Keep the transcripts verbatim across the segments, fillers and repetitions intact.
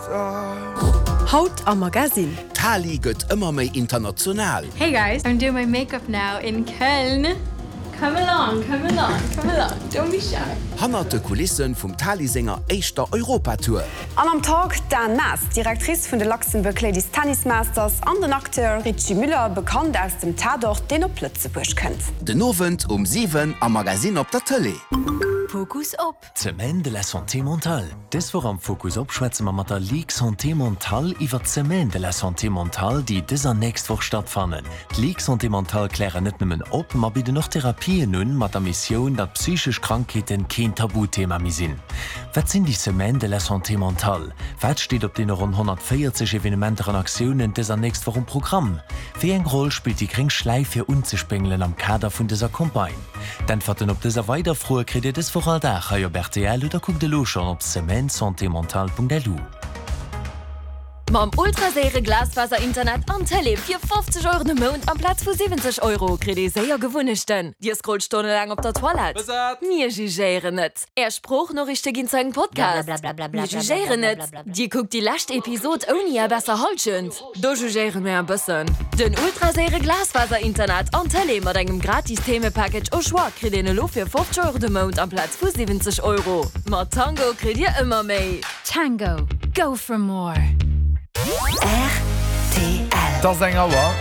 Haut am Magazine. Tali gëtt ëmmer méi international. Hey guys, I'm doing my makeup now in Köln. Come along, come along, come along, don't be shy. Hannert de Kulissen vum Tali senger éischter Europatour. An am Talk d'Anne Maas, Directrice vun de Luxembourg Ladies Tennis Masters an den Acteur Richy Müller, bekannt aus dem Tatort, deen op Lëtzebuerg kënnt. Den Owend um siwen am Magazine op der Tëlee. Fokus op. D'Semaine de la Santé mentale. Dës Woch am Fokus op schwätze mer mat der Ligue Santé Mentale iwwer d'Semaine de la Santé mentale, déi dës an nächst Woch stattfannen. D'Ligue Santé Mentale klären net nëmmen op, ma bidden och Therapien un, mat der Missioun, datt psychesch Krankheeten keen Tabuthema méi sinn. Wat sinn déi Semaines de la Santé mentale? Wat steet op deene ronn honnertvéierzeg Evenementer an Aktiounen dës an nächst Woch um Programm? Wéi eng Roll spillt déi gréng Schläif fir unzespéngelen am Kader vun dëser Campagne? D'Äntwerten op dës a weider Froe kritt Dir dës Woch all Dag hei op rtl oder kuckt elo schonn op semaine-santé-mentale.lu. Mam ultraséiere Glasfaser-Internet an Tëlee fir fofzeg Euro de Mount amplaz vu siwwenzeg Euro kritt ee séier Gewunnechten. Dir scrollt stonnelaang op der Toilette? Mir jugéieren net. Är Sproochnoriichte ginn zu engem Podcast? Mir jugéieren net. Dir kuckt déi lescht Episod ouni är besser Hallschent? Do jugéiere mir e bëssen. Den ultraséiere Glasfaser-Internet an Tëlee mat engem gratis Themepackage au choix kritt een elo fir fofzeg Euro de Mount amplaz vu siwwenzeg Euro. Mat Tango kritt Dir ëmmer méi. Tango, go for more! Rtl. Et ass eng Auer.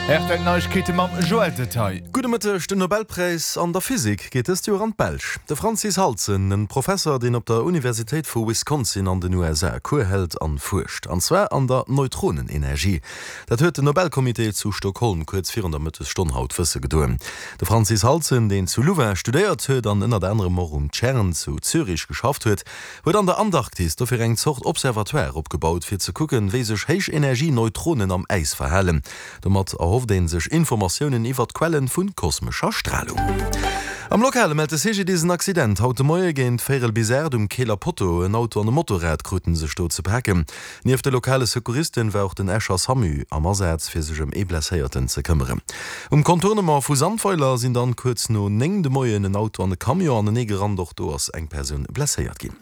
Rtl Neiegkeete mam Joël Detaille. Gudde Mëtteg, Den Nobelpräis an der Physik geet dëst Joer an d'Belsch. De Francis Halzen, en Professer, deen op der Universitéit vu Wisconsin an den U S A Cours hält an fuerscht, an zwar an der Neutronenenergie. Dat huet den Nobelcomité zu Stockholm kuerz virun der Mëttesstonn haut wësse gedoen. De Francis Halzen, deen zu Louvain studéiert huet an ënnert anerem och um CERN zu Zürich geschafft huet, huet an der Antarktis dofir eng Zort Observatoire opgebaut, fir ze kucken, wéi sech Héichenergie-Neutronen am Äis verhalen. Domat erhofft ee sech Informatiounen iwwer d'Quellen vu kosmescher Stralung. Am Lokale mellt de C G D S en Accident haut de Moie géint véierel bis aacht um Keeler Potto. En Auto an e Motorrad kruten sech do ze paken. Nieft de lokale Secouristen war och den Escher SAMU am Asaz, fir sech ëm ee Blesséierten ze këmmeren. Um Contournement vu Sandweiler sinn dann kuerz no néng de Moien en Auto an e Camion anenee gerannt. Och do ass eng Persoun blesséiert ginn.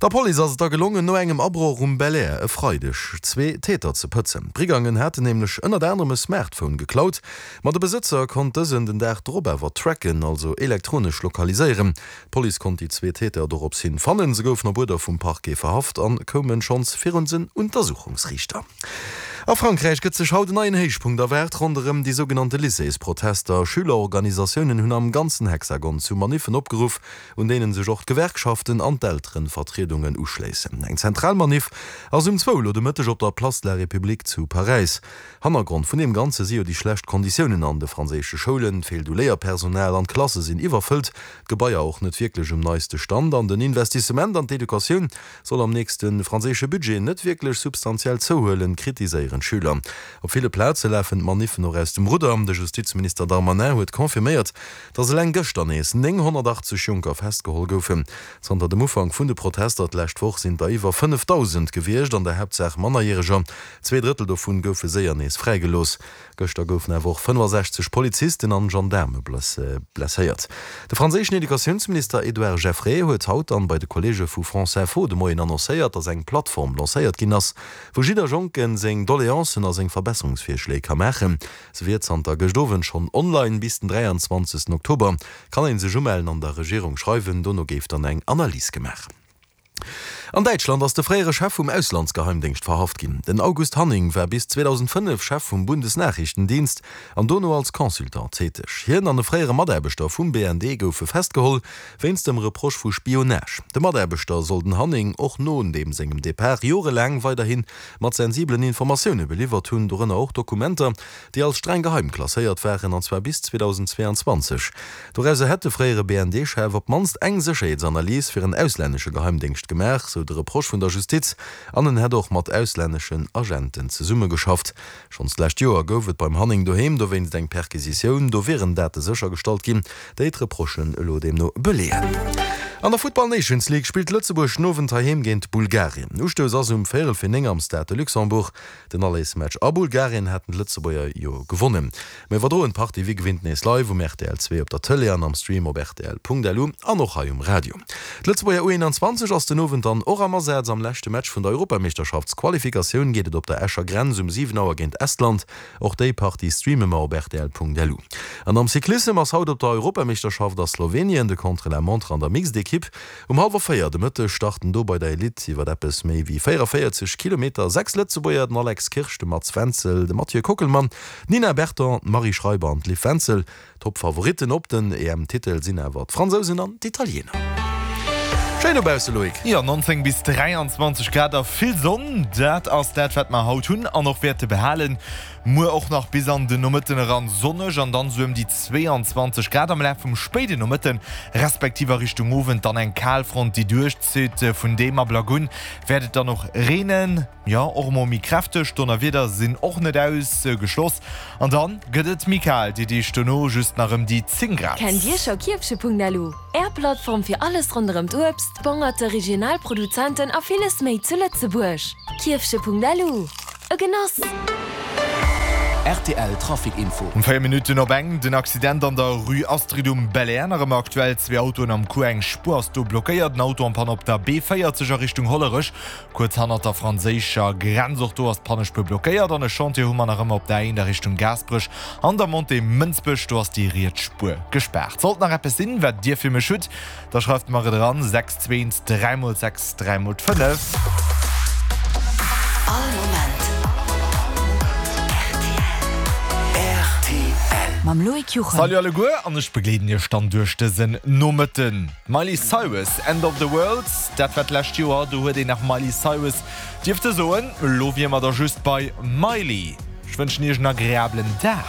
Der Police ass et da gelongen, no engem Abroch um Belair e Freideg zwee Täter ze pëtzen. D'Brigangen haten nämlech ënnert anerem e Smartphone geklaut, ma de Besëtzer konnt dësen den Dag drop awer tracken, also elektronesch lokaliséieren. D'Police konnt déi zwee Täter dorops hin fannen. Se goufen op Uerder vum Parquet verhaft an koumen schonns virun den Untersuchungsriichter. A Frankräich gëtt sech haut en neien Héichpunkt erwaart ronderëm déi sougenannte Lycéesprotester. Schülerorganisatiounen hunn am ganzen Hexagon zu Maniffen opgeruff, un deenen sech och d'Gewerkschaften an d'Elterenvertriedungen uschléissen. Eng zentral Maniff ass um zwou elo de Mëtteg op der Place de la République zu Paräis. Hannergrond vun deem Ganze si jo déi schlecht Konditiounen an de franséische Schoulen, feelt u Léierpersonal an d'Klasse sinn iwwerfëllt, d'Gebaier och net wierklech um neiste Stand an den Investissement an d'Educatioun soll am nächste franséische Budget net wierklech substantiell zouhuelen, kritiséieren d'Schüler. Op ville Plaze lafen d'Maniffen och aus dem Rudder. De Justizminister Darmanin huet confirméiert, datt eleng gëschter nees nénghonnertachtzeg Jonker festgeholl goufen. Zanter dem Ufank vun de Protester d'lescht Woch sinn der iwwer fënnefdausend gewiescht, an der Haaptsaach Mannerjäreger. Zwee Drëttel dovun goufe séier nees fräigelooss. Gëschter goufen awer och fënnefasechzeg Polizisten an Gendaarme blesséiert. De franséischen Educatiounsminister Edouard Geffray huet haut dann bei de Kolleege vu France Info de Moien annoncéiert, datt eng Plattform lancéiert ginn ass, wou jidder Jonken seng Doleancen a seng Verbesserungsvirschléi ka maachen. Se wier zanter gëscht Owend schonn online. Bis den dräianzwanzegsten Oktober kann een sech umellen an der Regierung schreiwen. Dono géif dann eng Analys gemaach. An Däitschland ass de fréiere Chef vum Auslandsgeheimdéngscht verhaft ginn. Den August Hanning war bis zweedausendfënnef Chef vum Bundesnachrichtendienst an dono als Consultant täteg. Hien an e fréiere Mataarbechter vum B N D goufe festgeholl wéinst dem Reproche vu Spionage. De Mataarbechter soll den Hanning och no deem sengem Depart jorelaang weiderhin mat sensibelen Informatioune beliwwert hunn, dorënner och Dokumenter, déi als streng geheim klasséiert waren, an zwar bis zweedausendzweeanzwanzeg. Dorauser hätt de fréiere B N D-Chef op d'mannst eng Sécherheetsanalys fir en auslännesche Geheimdéngscht gemaach, sou de Reproche vun der Justiz, an en hätt och mat auslänneschen Agenten zesummegeschafft. Schonns d'lescht Joer gouf et beim Hanning doheem dowéinst eng Perquisitioun, do wieren Date séchergestallt ginn, déi d'Reprochen elo deemno beleeën. An der Futtball Nations League spillt Lëtzebuerg den Owend heiheem géint Bulgarien. Ustouss ass um véierel fir néng am Stade de Luxembourg. Den Allesmatch a Bulgarien haten d'Lëtzebuerger jo gewonnen. Mir iwwerdroen d'Partie wéi gewinnt nees live um rtl zwee op der Tëlee an am Stream op rtl.lu an och hei um Radio. D'Lëtzebuerger U einundzwanzeg ass den Owend dann och am Asaz. Am leschte Match vun der Europameeschterschaftsqualifikatioun geet et op der Escher Grenz um siwen Auer géint Estland. Och déi Partie streame mer op rtl.lu. An am Cyclissem ass haut op der Europameeschterschaft a Slowenien de Contre-la-montre an der Mixed Equipe. Um hallwer véier de Mëtteg starten do bei der Elite iwwer eppes méi wéi véierundavéierzeg Kilometer sechs Lëtzebuerger, den Alex Kirsch, de Mats Wenzel, de Mathieu Kockelmann, d'Nina Berton, d'Marie Schreiber an d'Liv Wenzel. Top-Favoritten op den E M-Titel sinn awer d'Fransousen an d'Italiener. Schéin dobausse, Loïc! Jo, nonzéng bis dräianzwanzeg Grad a vill Sonn, dat ass dat, wat mer haut hunn an och wäerte behalen. Muer och nach bis an den Nomëtten eran sonneg an dann esou ëm déi zweeanzwanzeg Grad. Am Laf vum spéiden Nomëtten, respektiv a Richtung Owend dann eng Kalfront, déi duerchzitt. Vun deem Ablack un wäert et dann och reenen, jo och emol méi kräfteg. Donnerwieder sinn och net ausgeschloss an dann gëtt et méi kal, déi Deeg dono just nach ëm déi zéng Grad. Kennt Dir scho Kierfche.lu? Är Plattform fir alles ronderëm d'Uebst, d'Bongerte, regional Produzenten a villes méi zu Lëtzebuerg. Kierfche.lu, e Genoss! Rtl Trafic Info. Um véier Minutten op eng, den Accident an der Rue Astrid um Belair nach ëmmer aktuell. Zwee Autoen am Coup, eng Spuer ass do blockéiert. En Auto en panne op der B véierzeg a Richtung Hollerech, kuerz hannert der franséischer Grenz. Och do ass d'Pannespuer blockéiert. An e Chantier hu mer nach ëmmer op der A eent a Richtung Gaasperech an der Montée Mënsbech. Do ass déi riets Spuer gespaart. Sollt nach eppes sinn, wat Dir fir mech hutt, da schreift mer et eran, sechs zwee eent dräi mol sechs dräi mol fënnef. All Moment rtl. Mam Loïc Juchem. Salut alleguer an ech begleeden iech dann duerch dësen Nomëtten. Miley Cyrus, End of the World, dat war d'lescht Joer, do huet een nach Miley Cyrus dierfte soen, elo wier mer da just bei Miley. Ech wënschen iech en agreablen Dag.